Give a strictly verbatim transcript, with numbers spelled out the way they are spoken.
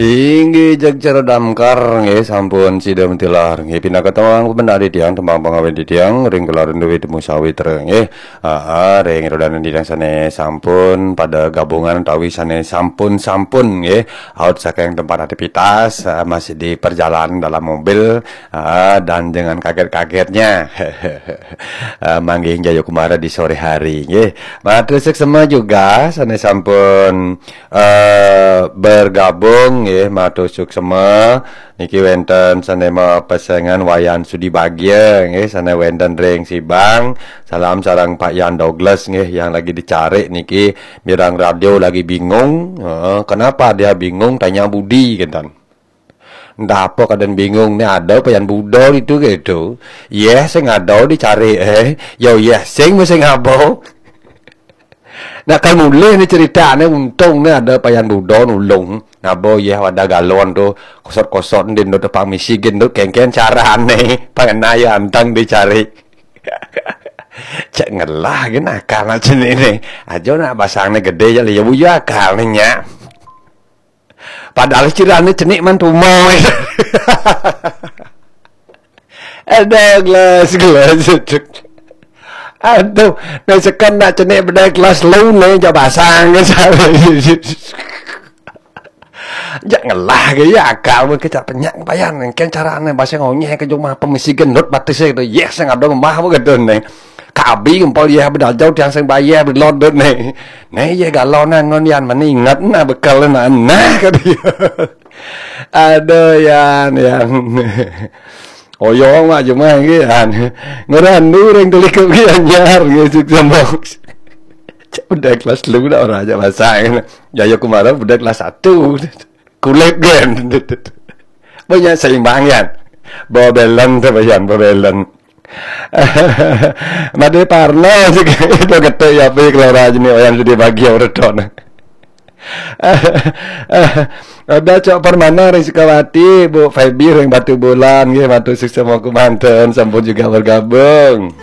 Inggih, jeg cara damkar nggih, sampun sida mentilar nggih, pinaka tembang pemendari tiang, tembang pangawit tiang ring kelarin duit temu sawitra nggih. Aa, ring rodanan tiang sane sampun pada gabungan utawi sane sampun-sampun nggih, out saking tempat aktivitas, aa, masih di perjalanan dalam mobil, aa, dan dengan kaget-kagetnya. Aa, manggih Jayakumara di sore hari nggih. Matur suksema juga sane sampun eh, bergabung nggih, matur suksema. Niki wenten sane mapesengan Wayan Sudi Bagia nggih, sane wenten ring Sibang. Salam sareng Pak Yan Douglas nggih, yang lagi dicari niki, mireng radio lagi bingung. Heeh, kenapa dia bingung? Tanya Budi, kenten. Ndak apa kaden bingung ni, ada Payan Budo itu gitu. Yeh sing ada dicari eh. Yo yeh sing mesti ngabo. Nak kan mulih ni ceritane, untung ni ada Payan Budo nulung. Nabo yeh wadah galon tu, kosot-kosot ndin tu tepang misi gen tu kengken carane. Pangena ya antang dicari. Cek ngelah gen akal macam ni. Aja nak basang ni gede je lah, ya buya akal ni nyak. Padahal cirane cenik man tumo. Ada gelas, gelas. Aduh, nak sekan nak cenik bedai kelas lu ni, jak basang ke sana. Jak ngelah ke ya akal mun kecak penyak payan. Ken carane basang onyeh ke jumah pemisi genut batis itu. Yes, yang ada rumah apa gedun ni. Kabi ngempol yeh bedajau tiang sing bayeh belodot ni. Ni yeh galonan ngon yan, mani ingat nah bekal nah, nah, kata dia. Aduh, yan, yan. Oyong mak jumah nggih, yan. Ngerandu ring Telikup nggih anyar nggih, suk sambung. Cak budak kelas lu dah orang aja basang. Jayakumara budak kelas satu. Kulit gen. Banyak seimbang yan. Bawa belon tu bayan, bawa belon. Made Parno sik do getek ya pi kelora jeni Wayan Sudi Bagia ureton. Ada Cok Permana ring Sukawati, Bu Febi ring Batu Bulan nggih, matur suksema kumanten, sampun juga bergabung.